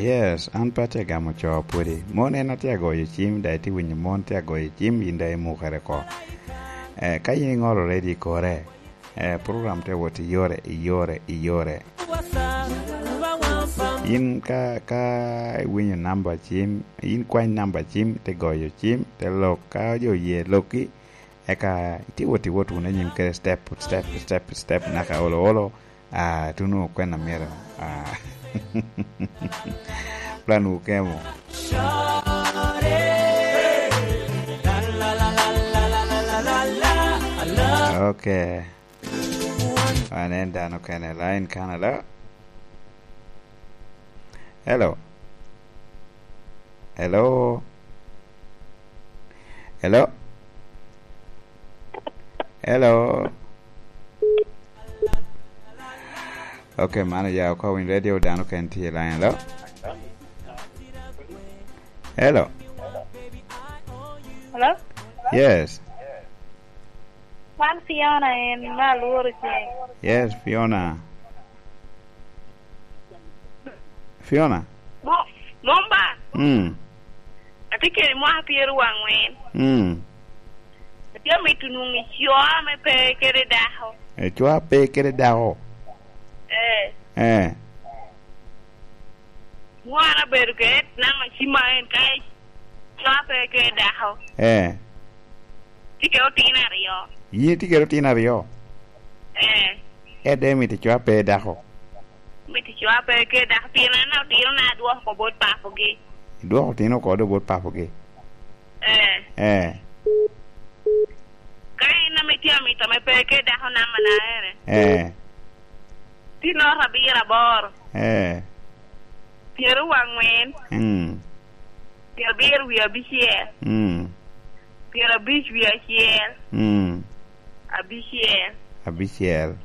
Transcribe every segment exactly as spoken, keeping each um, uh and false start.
Yes, an pe atye agamo co pwodi. Mon en atye agoyo cim, da itye winyo mon tye agoyo cim, yin da imukere oko. Eh, ka yin iŋolo ready i kore, eh, program tye wot i yore, i yore, i yore. Yin ka, ka iwinyo namba cim, yin kwany namba cim, te goyo cim, te lok, ka jo oye lokki, eka itye wot, iwot wunu anyim kede step, step, step, step, naka olo, olo, ah, tuno kwena myero, ah, plan wu kemo. Okay. Wan en dano kene line kan alo. Hello. Hello. Hello. Hello. Okay, mano ya oko winy radio dano ken tye line lo. Hello. Hello? Yes. Wan Fiona en me alworo ceng. Yes, Fiona. Fiona. Mo-, Momba. Mm. Atye kede mwaka pyero wa angwen. Mm. Atye amito nwoŋo ico ame pe kede dako. Ico a pe kede dako? Eh. Eh. Nwoŋo an abedo kede namba cim a en ka ico a pe kede dako. Eh. Tye kede otino aryo. Yin itye kede otino aryo? Eh. Ede mito ico a pe dako? Mito ico a pe kede dako, pien an otino na adwoko oko bot papogi. Idwoko otino oko do bot papogi? Eh. Eh. Ka in ame tye amito ame pe kede dako, namba na ene? Eh. Tye nota abiro aboro. Eh. Pyero wa angwen. Mm. Pyero abiro wie abicel. Mm. Pyero abic wie acel. Mm. Abicel. Abicel.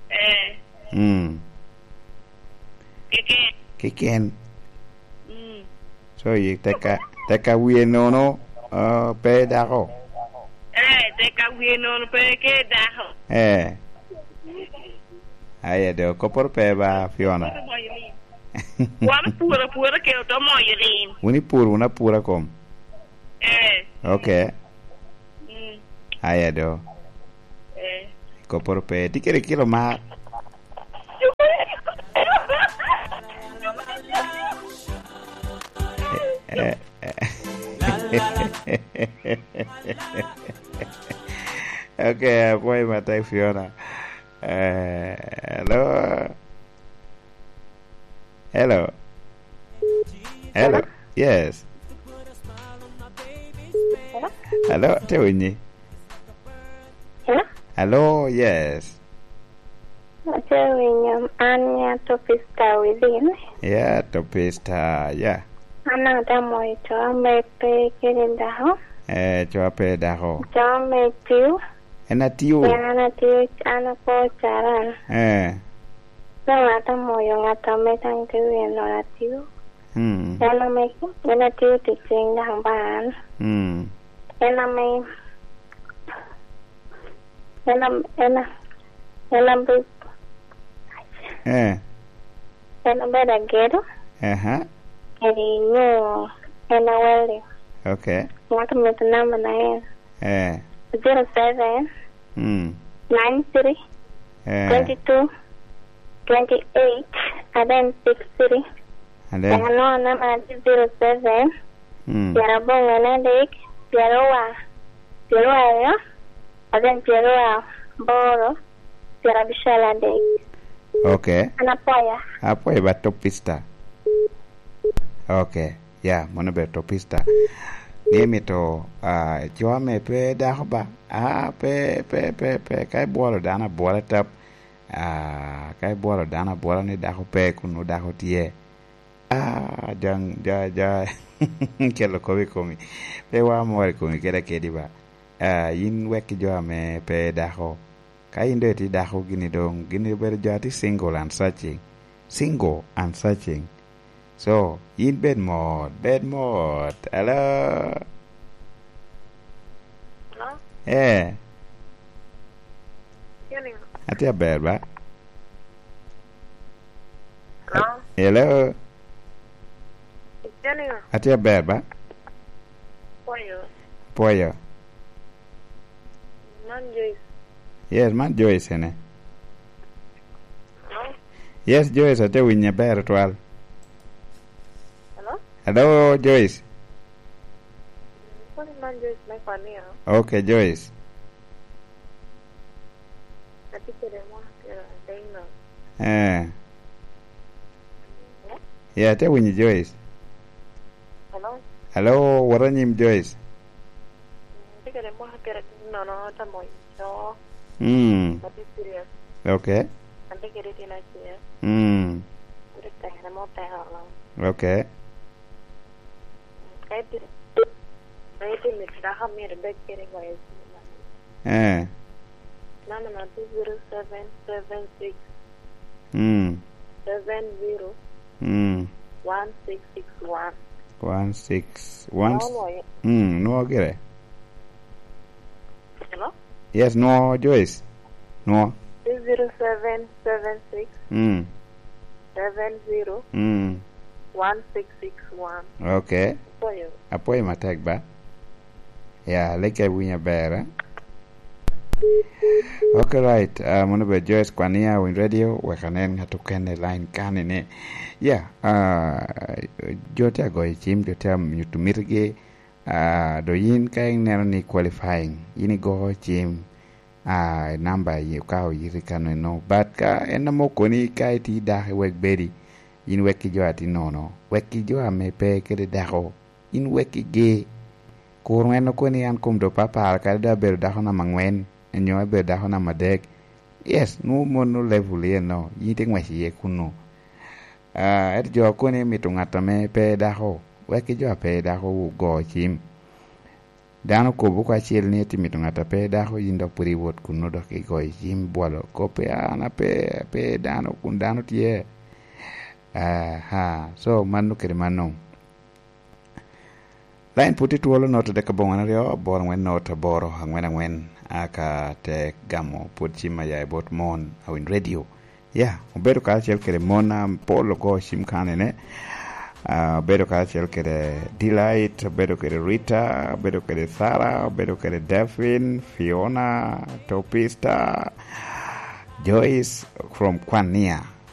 Eh. Mm. Keken. Keken. Mm. So, yi teka, teka wie nono, ah, pe dako? Eh, teka wie nono pe ke dako. Eh. Aye do, koporo pe ba, Fiona. Wan puro apura ke oto moyo lim. Wun ipuro wunu apura kom? Eh. Okay. Mm. Aye do. Eh. Koporo pe. Tye kede kilo mar. Eh, eh, eh. Okay, apwoyo matek, Fiona. Eh, hello. Hello. Hello. Hello? Yes. Hello? Hello, te winyi? Hello? Hello, yes. Ate winyo, an ya Topista Within. Yeah, Topista, yeah. An atamo i co ame pe kede dako. Eh, co a pe dako. Co ame tiyo. En atiyo. Pien an atiyo, an akwo caran. Eh. Dong atamo yo ŋat ame daŋ te wie nono atiyo. Mm. En ame, en atiyo tic cing daŋ ba an. Mm. En ame, en am-, en a-, en abe-, Eh. En abedo agedo. Aha. Kede nyo en a welding. Okay. Ŋat omito namba na en. Eh. Zero seven, Mm. nine three, Eh. twenty two, twenty eight, and then six three. And then? Daŋ anongo namba na tye zero seven, Mm. pyeraboro adek, pyeraryo, pyeraryo aryo, and then pyeraryo aboro, pyerabicel adek. Okay. An apwoyo. Apwoyo ba Topista. Okay. Ya, mano obedo Topista. Ni emito, ah, co ame pe dako ba. Ah, pe, pe, pe, pe. Ka ibwolo dano abwola tap. Ah, ka ibwolo dano abwola ni dako pe, kun nwoŋo dako tye. Ah, ja, ja, ja, kelo kop i komi. Pe wa mor i komi kede akedi ba. Ah, yin wek ki jo ame pe dako. Ka yin doŋ itye dako gini doŋ, gini obedo jo a tye single and searching. Single and searching. So, yin bed mot, bed mot. Hello? Hello? Eh. Atye aber ba? Hello? Hello? Janiga. Atye aber ba? Pwoyo. Pwoyo. Man Joyce. Yes, man Joyce ene. Hello? Yes, Joyce, atye winyi aber twal. Hello? Hello, Joyce. Kodi man Joyce me Kwania. Okay, Joyce. Atye kede mwaka pyera adek no. Eh. Yeah, atye winyi Joyce. Hello? Hello, wot anyim Joyce. Atye kede mwaka pyera adek nono, atamo co. Mm. Atye serious. Okay. Atye kede tyen acel. Mm. Kodi tere mo tero. Okay. Ka iti-, ka itimo i dako myero ibed kede goyo cim. Eh. Namba na two zero seven seven six. Mm. Seven zero. Mm. One six six one. One six one. Nwoŋo loyo. Mm, nwoŋo gire. Hello? Yes, nwoŋo, Joyce. Nwoŋo. Two zero seven seven six. Mm. Seven zero. Mm. One six six one. Okay. Apwoyo. Apwoyo matek ba. Ya, leke winyo aber, eh? Okay, right. Ah, mono be Joyce Kwania, Winy Radio, wek anen ŋat okene i line kani ni. Ya, ah, jo tye agoyo cim, jo tye anyuto mitigi. Ah, do yin ka ineno ni qualifying, yin igo cim, ah, namba yi-, ka oyiti kano eno. But ka en ame okoni ka iti dako i wek bedi, yin wek ki jo a tye nono, wek ki jo ame pe kede dako, yin wek ki ge. Kur en okoni an kom do papara, kadi do abedo dako namba angwen, nyo abedo dako namba adek. Yes, nwoŋo mono level eno, yin ite ngwec iye kunu. Ah, ento jo okoni mito ŋat ame pe dako, wek ki jo a pe dako ogo cim. Dano okobo oko acel ni iti mito ŋat a pe dako, yin dok pwod iwot kunnu dok igoyo cim, ibwolo kop, "An ape, ape dano, kun dano tye." Aha, so mano kede mano. Lain pwod tye twolo, note dek aboŋwen aryo, aboro angwen note aboro, angwen angwen, aka te gamo pwod cim a ya i bot mon, Awiny Radio. Ya, obedo karacel kede mon apol ogo cim kanene. Ah, obedo karacel kede Delight, obedo kede Rita, obedo kede Sarah, obedo kede Delphine, Fiona, Topista, Joyce from Kwania.